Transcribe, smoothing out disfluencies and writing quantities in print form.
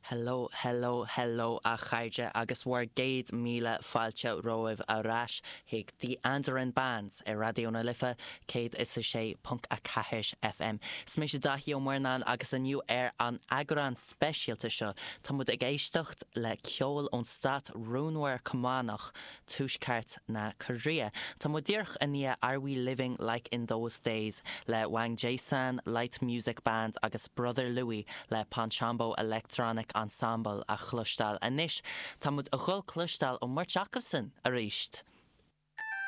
Hello, hello, hello a chairde agus bhur gcéad míle fáilte romhaibh ar ais chuig The Andaran Band ar Raidió na Life 106.4 FM. Is mise Daithí Ó Murnáin agus inniu ar an eagrán speisialta seo tá muid ag éisteacht le ceol ón stát rúnmhar Cumannach Tuaisceart na Cóiréa. Tá muid díreach i ndiaidh Are We Living Like In Those Days le Wang Jae-san Light Music Band agus Brother Louie le Ponchambo Electronic Ensemble a chloisteáil. Anois tá muid a dhul cloisteáil ón mbeirt acusan aríst!